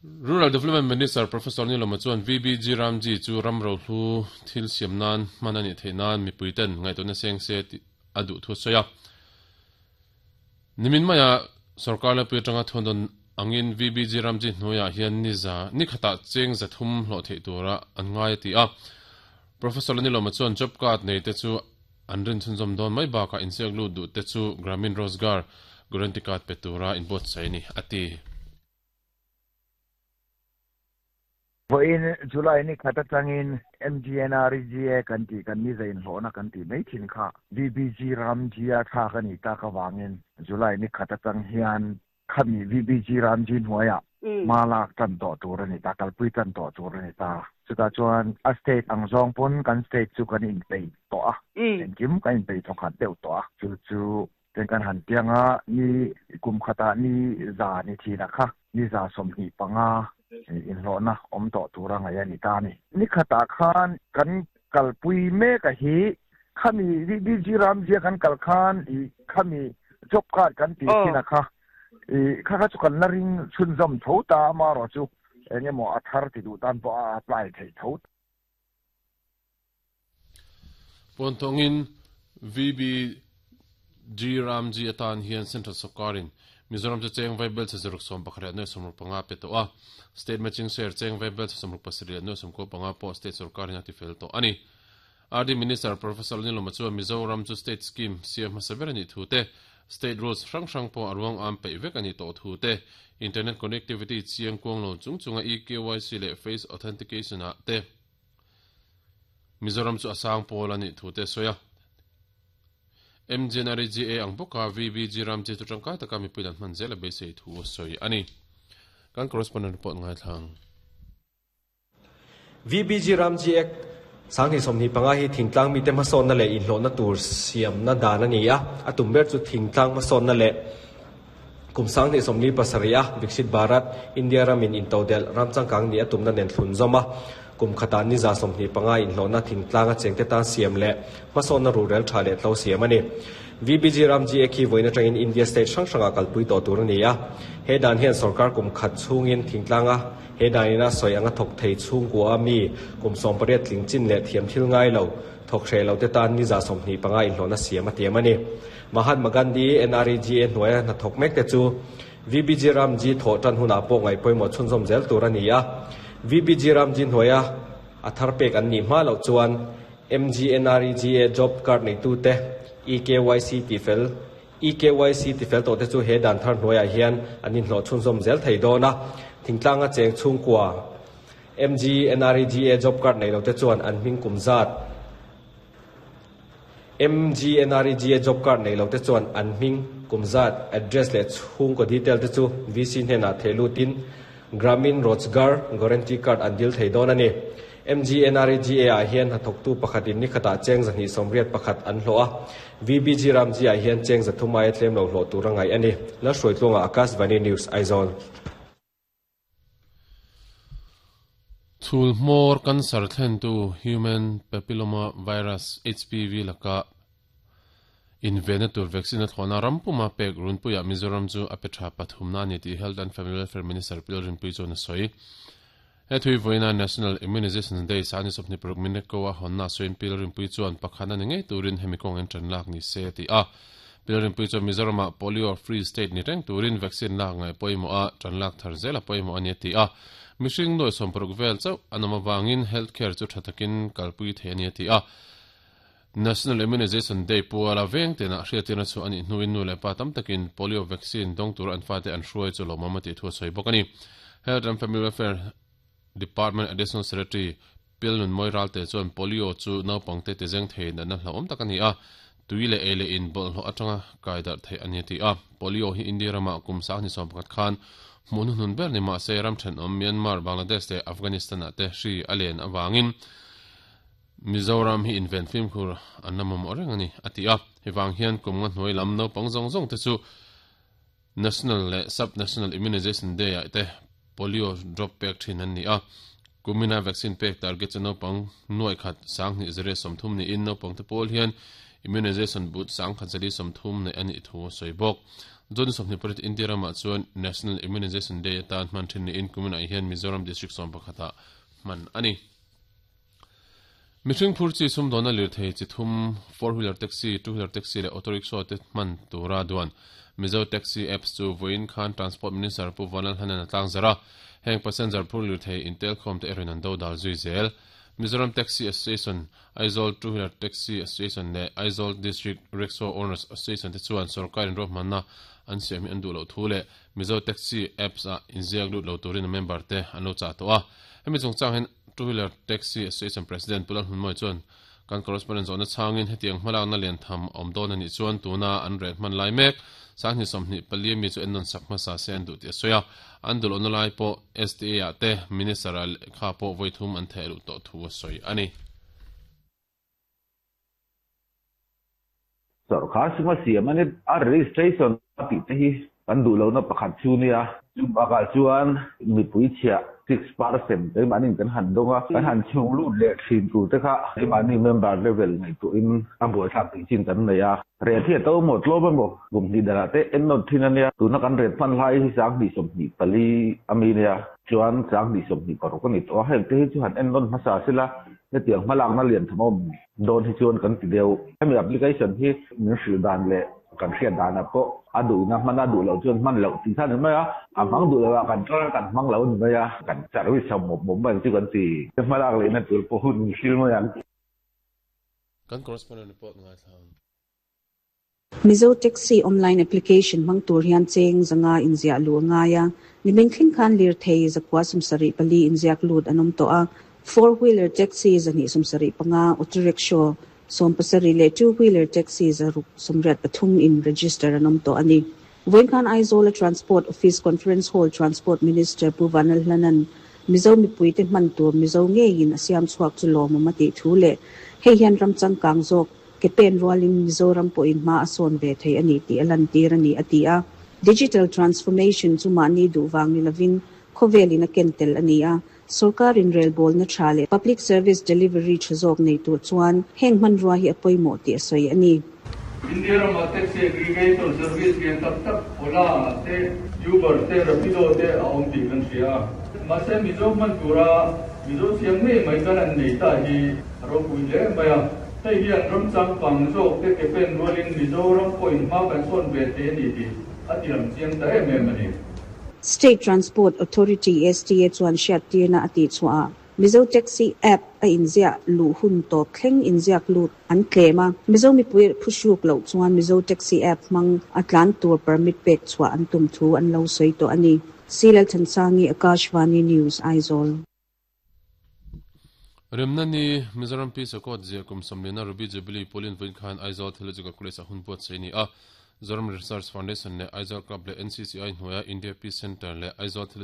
Rural Development Minister Professor Nilawma chuan VBG Ramji chu ram rohlu thil siam nan hman a nih theih nan mipuiten ngaihtuahna seng se tih a duh thu a sawi a. Nimin maia sorkar laipui atanga thuandawn angin VBG Ramji hnuaiah hian ni za ni khatah cheng 300 hlawh theih tura an ngai a ti a. Professor Nilawma chuan job card neite chu an rin chhunzawm dawn mai bakah inziak lut duhte chu Gramin Rozgar Guarantee Card pe tura inbuatsaih a ni, a ti. Vawiin July ni khat atangin MGNREGA kan tih kan ni zainhlawhna kan tih mai thin kha VBG Ramji a thlak a nih tak avangin July ni khat atang hian khami VBG Ramji hnuaiah hma lak tan tawh tur a ni ta, kalpui tan tawh tur a ni ta. Chutah chuan a state ang zawng pawn kan state chu kan inpeih tawh a, engkim kan inpeih thawkhat deuh tawh a, chu chu Chen kan han tiang a, ni kum khatah ni za ni thinah kha ni 125 inhlawhna awm tawh tura ngaih a ni ta a ni. Ni khatah khan kan kalpui mek a hi khami VBG Ramzia kan kal khan i khami job card kan tih thinah kha i kha kha chu kan la ring chhunzawm tho ta amaherawh chu eng emaw a thar ti duh tan pawh a apply theih tho. Puanthawngin VBG Ramji atan hian Central Sawrkarin Mizoram chu cheng vaibel chhe zaruk 11 leh nuai 65 pe tawh a, State Matching Share cheng vaibel chhe 67 leh nuai 95 pawh State Sawrkarin a tifel tawh a ni. RD Minister Professor Lalnilawma chuan Mizoram chu State Scheme siam hmasa ber a nih thu te, State Rules hrang hrang pawh a ruang am peih vek a nih tawh thu te, Internet Connectivity chiang kuang lo chung chunga eKYC leh Face Authentication ah te, Mizoram chu a sang pawl a nih thu te a sawi a. MGNREGA ang bawka VBG Ramji chu tangkai taka mipui dan hman zel a beisei thu a sawi a ni. Kan correspondent report ngaithlang. VBG Ramji Act 2025 hi thingtlang mite hmasawnna leh inhlawhna tur siamna dan a ni a, a tum ber chu thingtlang hmasawnna leh Kum 2047 a Viksit Bharat, India ramin intodelh ram changkang nih a tumna nen thlun zawm a, kum khatah ni 25 inhlawhna thingtlanga chengte tan siam leh hmasawnna rurel tha leh tlo siam a ni. VBG ram GA khi vawiin atangin India state hrang hrangah kalpui tawh tur a ni a. He dan hian sorkar kum khat chhungin thingtlanga he danina sawi anga thawk thei chhungkua mi kum 18 tling chin leh thiam thil ngai lo thawk hreh lo te tan ni 25 inhlawhna siam a tiam a ni. Mahatma Gandhi NREGA hnuaia hnathawk mek te chu VBG Ramji thawh tan hunah pawh ngaih pawimawh chhunzawm zel tur a ni a. VBG Ramji hnuaia a thar pek an nih hma loh chuan MGNREGA job card neitute eKYC tifel eKYC tifel tawh te chu he dan thar hnuaiah hian an inhlawh chhunzawm zel thei dawn a. Thingtlanga cheng chhungkua MGNREGA job card nei lo te chuan an hming kum zat MGNREGA job card nei lo te chuan an hming, kum zat, address leh chhungkaw detail te chu VC hnenah theh lutin Gramin Rojgar Guarantee Card an dil thei dawn a ni. MGNREGA ah hian hnathawktu pakhatin ni khatah cheng 281 an hlawh a, VBG Ramji ah hian cheng 300 aia tlem lo hlawh tur a ngaih a ni. Lalhruaitluanga Akashvani News, Aizawl. Chhul hmawr cancer thlentu Human Papilloma Virus, HPV, laka invenna tur vaccine a thlawhna ram puma pek runpuiah Mizoram chu a pe tha pathumna a ni tih Health and Family Welfare Minister Pi Lalrinpuii chuan a sawi. He thui vawiina National Immunization Day sani 26 minute ko a hawnna sawiin Pi Lalrinpuii chuan pakhatna ni ngei turin hemi kawng en tan lak ni se a ti a. Pi Lalrinpuii chuan Mizoramah Polio Free State ni reng turin vaccine lak ngaih pawimawh a, tan lak thar zel a pawimawh a ni a ti a. Mihring nuai 60 vel chauh an awm avangin health care chu tha takin kalpui thei a ni a ti a. National Immunization Day puala veng tenah hriattirna chu a nih hnuin nu leh pa tam takin polio vaccine dawng tur an fate an hruai chu lawmawm a tih thu a sawi bawk a ni. Health and Family Welfare Department Additional Secretary Pilnun Mawi Ralte chuan polio chu naupangte tizeng thei natna hlauhawm tak a ni a, tui leh ei leh in bawlhhlawh atanga kai darh theih a ni a ti a. Polio hi India ramah kum 2011 khan hmuh hnuhnun ber ni mahse ram thenawm Myanmar, Bangladesh leh Afghanistan-ah te hri a len avangin Mizoram hi inven fimkhur an la mamawh reng a ni, a ti a. Hei vang hian kum nga hnuai lam naupang zawng zawng te chu National leh Sub-National Immunization Day-ah te polio drop pek thin an ni a. Kumina vaccine pek target chu naupang nuai khat 2130 niin naupang te pawl hian immunization booth 1130 neih a nih thu a sawi bawk. June 28 India ramah chuan National Immunization Day atan hman thin niin kuminah hian Mizoram District 11 ah hman a ni. Mihring phur chi sumdawnna lirthei chi thum, four wheeler taxi, two wheeler taxi leh auto rickshaw te hman tura duan Mizo Taxi Apps chu vawiin khan Transport Minister Pu Vanlalhanan a tlangzarh a, heng passenger phur lirthei intelkhawm te erawhin an dodal zui zel. Mizoram Taxi Association, Aizawl Two Wheeler Taxi Association leh Aizawl District Rickshaw Owners Association te chuan sorkarin ruahmanna an siam hi an duh loh thu leh Mizo Taxi Apps ah inziak lut lo turin a member te an lo chah tawh a. Hemi chungchang hian Two Wheeler Taxi Association President Pu Lalhmunmawia chuan kan correspondent zawhna chhangin hetiang hmalakna lian tham a awm dawn a nih chuan tuna an rel hman lai mek 2024 ami chu ennawn sak hmasa se an duh tih a sawi a. An duh lohna lai pawh STA ah te Minister ah lehkha pawh vawi thum an theh luh tawh thu a sawi a ni. Sorkar suma siam a ni a, registration a tih te hi kan duh lohna pakhat chu nia. Chu bakah chuan mipui chhiah 6% keimahniin kan han dawng a, kan han chhung lut leh thin tur te kha keimahni member level ngaihtuahin a buaithlak tih chin kan nei a. Ret hi a to maw tlawm emaw kum hnih danah te en nawt thin a nia. Tuna kan ret hman hlai hi 2024 ami nia chuan 2026 a ni tawh a, heng te hi chu han en nawn hmasa sila hetiang hmalakna lian tham awm dawn hi chuan kan ti deuh. Hemi application hi min hrilh dan leh kan hriat danah pawh a duhna hman a duh loh chuan hman loh tih kha a ni mai a, a hmang duh loh ah kan ṭawng a kan hmang lo a ni mai a, kan service ho mawp mawp mai ang chu kan ti. Hmalak lehna tur pawh hun min hrilh mai ang. Kan correspondent report ngaithla ang. Mizo Taxi online application hmang tur hian cheng 500 inziah luh a ngai a, nimin thleng khan lirthei 974 inziak lut an awm tawh a, four wheeler taxi 275, auto rickshaw 17 leh two wheeler taxi 683 in register an awm tawh a ni. Vawiin khan Aizawl-a Transport Office Conference Hall Transport Minister Pu Vanlalhlana'n Mizo mipuite hman tur Mizo ngeiin a siam chhuak chu lawmawm a tih thu leh hei hian ram changkang zawk ke pen rualin Mizoram pawhin hma a sawn ve thei a ni tih a lantir a ni, a ti a. Digital transformation chu mahni duh vang ni lovin khawvelin a ken tel a ni a. Sorkarin relbawlna tha leh public service delivery tha zawk nei tur chuan heng hmanrua hi a pawimawh tih a sawi a ni. India rama taxi aggregator service lian tak tak Ola te, Uber te, Rapido te a awm tih kan hria a. Mahse Mizo hman tura Mizo siam ngei mai kan an nei ta hi a ropui hle mai a. Hei hian ram changkang zawk te ke pen rualin Mizoram pawhin hma kan sawn ve thei a ni tih a ti lang chiang ta em em a ni. State Transport Authority, STA, chuan hriattirna a tihchhuah ah Mizo Taxi App a inziah luh hun tawp thleng inziak lut an tlem a, Mizo mipui phuhruk loh chuan Mizo Taxi App hmang a tlan tur permit pek chhuah an tum thu an lo sawi tawh a ni. C. Lalthansangi, Akashvani News, Aizawl. Remna ni, Mizoram Peace Accord ziah kum 40 na Ruby Jubilee Pauline vawiin khan Aizawl Theological College ah hun buatsaih a ni a. Zoram Research Foundation leh Aizawl Club leh NCCI hnuaia India Peace Centre leh Aizawl Theological.